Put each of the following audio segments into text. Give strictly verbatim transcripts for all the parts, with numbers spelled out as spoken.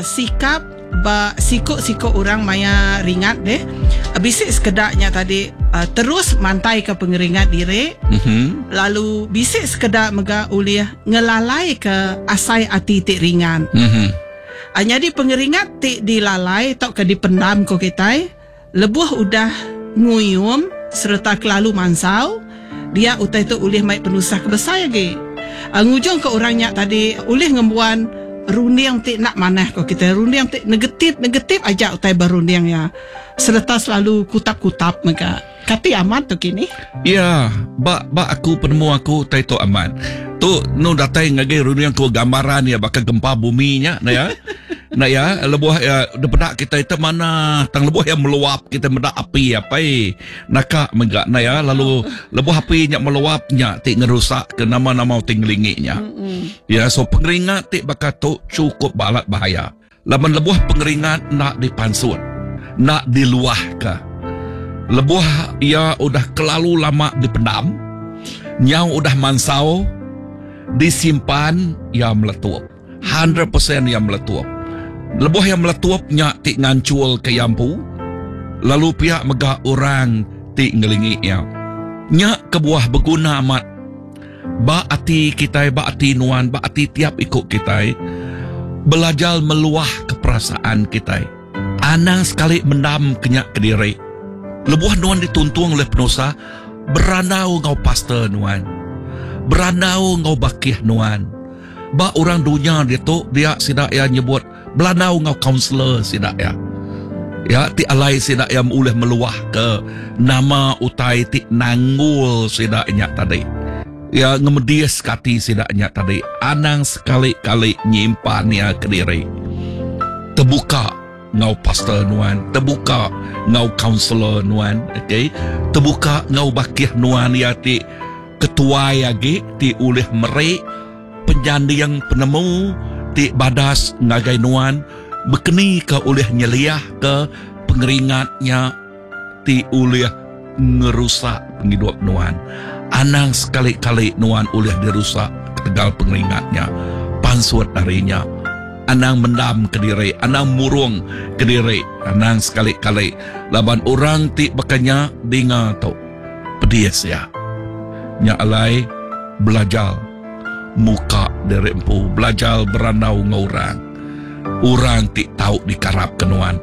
Sikap ba siku-siku orang maya ringat deh. Bisi sekedaknya tadi uh, terus mantai ke pengeringat diri. Mhm. Lalu bisi sekeda mega ulih ngelalai ke asai ati ti ringan. Mhm. Uh, jadi pengeringat ti dilalai atau ke dipendam ko kita, lebuh udah nguyum serta kelalu mansau, dia utai tu ulih mai penusah ke besar lagi. Uh, ngujung ke orangnya tadi ulih ngembuan runding ti nak manah ko kita, runding ti negatif negatif aja utai berunding ya. Serta selalu kutap-kutap mega. Kati amat tu kini. Ya, ba ba aku penemu aku tai tu amat. Tu nu datai ngagai runding ku gambaran ya bakal gempa bumi nya na ya. Na ya, lebuh ya depedak kita itu mana tang lebuh yang meluap kita medak api apa eh naka mega na ya, lalu lebuh api nya meluap nya ti ngerusak ke nama-nama ti ngelingi nya. Ya, so pengeringat ti baka tu cukup balat bahaya. Laban lebuh pengeringat nak dipansut, nak diluah ke. Lebuh ia udah kelalu lama dipendam, nyau udah mansau, disimpan, ia meletup. seratus peratus ia meletup. Lebuh yang meletup nya ti ngancul ke yampu, lalu pihak mega orang ti ngelingi ia. Nya kebuah berguna amat. Ba ati kita, ba ati nuan, ba ati tiap ikut kita, belajar meluah ke perasaan kita. Anang sekali mendam kenyak ke diri. Lebuh nuan dituntung oleh penusa, beranau ngau pastor nuan. Beranau ngau bakih nuan. Ba orang dunia dia tu, dia sidak ya nyebut belanau ngau kaunselor sidak ya. Ya, ti alai sidak ya ulih meluah ke nama utai ti nanggul sidak nya tadi. Ya, ngemedias kati sidak nya tadi. Anang sekali-kali nyimpan ya ke diri. Terbuka ngau pastor nuan, terbuka ngau kaunselor nuan, okey. Terbuka ngau bakih nuan ya ti ketuai agi ti ulih merik penyanding penemu ti badas ngagai nuan, bekeni ke ulih nyeliah ke pengeringatnya ti ulih ngerusak penghidup nuan. Anang sekali-kali nuan ulih dirusak ketegal pengeringatnya. Pansut darinya. Anang mendam ke diri, anang murung ke diri, anang sekali-kali laban orang ti bakanya dinga tu pedis ya. Nya alai belajar muka diri empu, belajar berandau ngau orang. Orang ti tau dikarap ke nuan.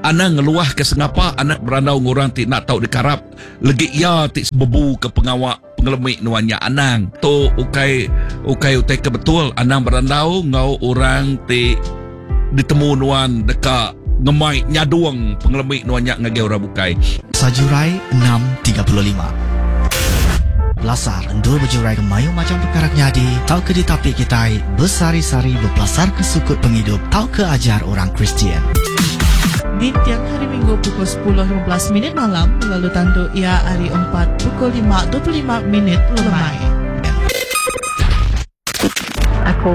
Anang ngeluah ke sengapa anak berandau ngurang ti nak tau dikarap legi ia ti sebebu ke pengawak pengelemik nuannya. Anang tu ukai ukai utai ke betul. Anang berandau ngau orang ti ditemu nuan deka ngemai nyaduang pengelemik nuannya ngagai orang bukai. Sajurai enam tiga puluh lima. Pelasar endur berjurai ke mayu macam perkara nyadi tau ke ditapi kitai besari-sari berpelasar ke sukut penghidup tau ke ajar orang Kristian. Di tiang hari Minggu pukul sepuluh lima belas minit malam lalu tentu ia hari empat pukul lima dua puluh lima minit lemai. Aku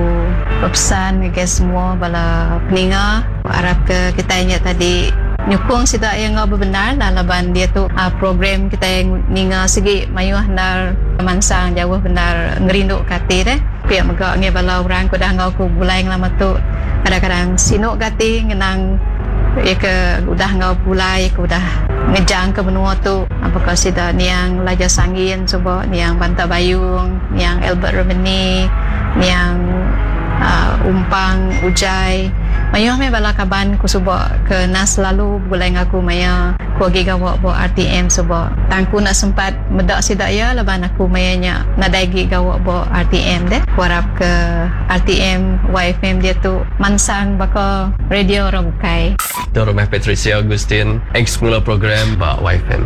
berpesan ke semua bala peninga harap ke kita ingat tadi nyukung sida yang ngau bebenar lah laban dia tu uh, program kita yang ninga segi mayuh nar mansang jauh benar ngerindu kati deh. Pihak mega ngi bala orang ku dah ngau ku bulai ngelama tu kadang-kadang sinuk kati ngenang ia ke udah ngau bulai ke udah ngejang ke benua tu apakah sida niang Laja Sangin cuba niang Banta Bayung niang Albert Remeni niang uh, Umpang Ujai mayuh me bala kaban ku suba ke nas selalu bulai ngaku maya ku agi gawak bo R T M suba tangku nak sempat medak sida ya laban aku maya nya nadai gi gawak bo R T M deh ku harap ke R T M Y F M dia tu mansang baka radio orang bukai. Tu rumah Patricia Augustine ex mula program ba Y F M.